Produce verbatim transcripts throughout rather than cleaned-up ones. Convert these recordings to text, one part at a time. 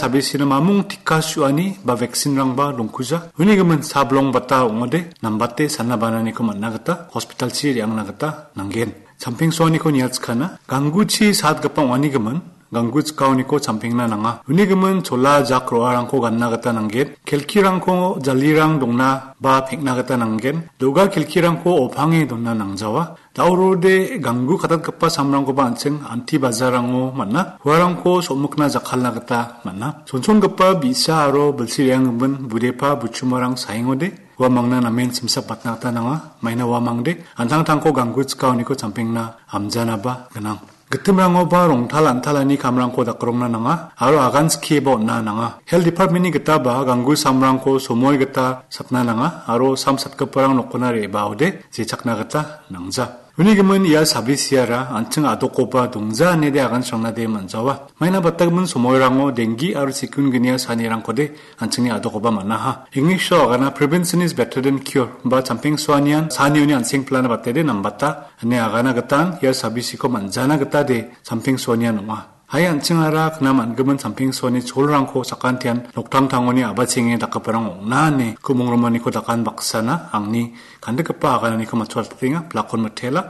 Sabisina mamung tika su·ani ba vaccine-rangba dongkuja. Uni gimin sablong bata ong·ode, nambate sana bananiko man·na gita, hospital-chi re·angna gita nanggen. Champeng soaniko niatskana, gangguchi satgipa ong·ani gimin, ganggu chikaoniko champengna nanga. Uni gimin chola jak ro·arangko ganna gita nanggen. Kelkirangko jalirang dongna ba peng·na gita nanggen. Do·ga kelkirangko opange donna nangjawa. Daurode ganggu katatgipa samrangkoba an·ching anti bazarango man·a. Uarangko somikna jakkalna gita man·a. Chonchongipa bi·sa aro bilsi re·anggimin budepa buchumarang saengode. Uamangna namen simsap batna gita nanga. Maina uamangde an·tangtangko ganggu chikaoniko champengna amjanaba gnang. Gitimrangoba rongtal an·talani kamrangko dakrongna nanga aro agan skieba on·na nanga. Health Department-ni gitaba ganggu samrangko somoi gita satna nanga aro sam satgiparang nokona re·baode jechakna gita nangja. Uni gimin ia sabisiara an·ching adokoba dongja inede agan srangnade man·jawa. Maina batagimin somoirango denggi aro sikun gnia sanirangkode an·chingni adokoba man·aha. English-o agana prevention is better than cure ba champeng soanian sanioni an·seng plana batede nambata ine agana gitan ia sabisiko man·jana gitade champeng soanian ong·a. Hai an·chingara knam an·gimin champeng soani cholrangko sakantian noktangtangoni abachenge dakgiparang ong·na ine kumung romaniko dakan baksana angni kandikgipa agananiko matchotpatenga, blakon mitela.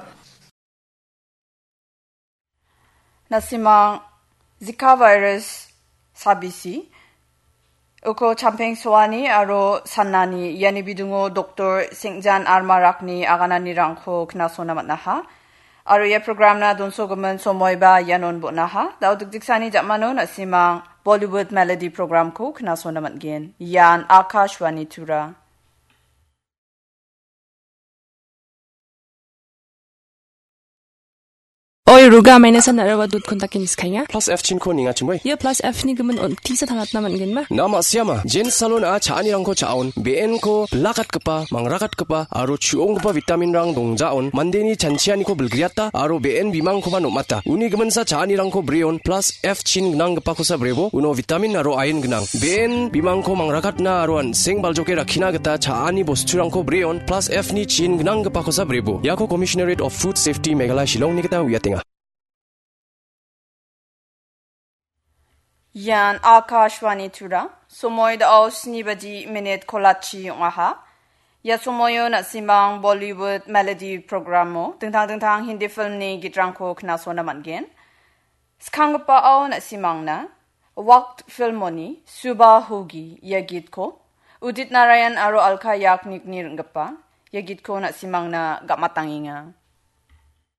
Na·simang Zika virus sabisi, uko champeng soani aro sanani iani bidungo Doktor Sengjan Armarakni agananirangko knasona man·aha. Aro ia programna donsogimin somoiba ianon bon·aha. Da·o dikdiksani ja·mano na·simang Bollywood Melody programko knasona man·gen. Ian Akashvani Tura. Oi, Ruga, maina san araba dut kontak inis kainga. Plus F chin ko ninga chimoi. Ia plus F ni gimin on tisa tangatna man·gen ma? Na ma·siama, Jen Salon a cha·anirangko cha·on, B N ko bilakatgipa, mangrakatgipa, aro chu·onggipa vitamin rang dongjaon, mandeni chanchianiko bilgriata, aro B N bimangkoba nom·ata. Uni giminsa cha·anirangko breon, plus F chin gnanggipakosa brebo, uno vitamin aro ain gnang. B N bimangko mangrakatna aro an·seng baljoke rakkina gita cha·ani bosturangko breon plus F ni chin gnanggipakosa brebo. Iako Commissionerate of Food Safety Meghalaya Shillongni gita uiatenga. Ian Akashvani Tura, somoi da·o sni baji minit kolachi ong·aha. Ia somoio na·simang Bollywood Melody programo dingtang dingtang Hindi filmni gitrangko knasona man·gen. Skanggipao na·simangna Waqt filmoni Suba Hogi ia gitko Udit Narayan aro Alka Yagnikni ring·gipa ia gitko na·simangna gam·atangenga.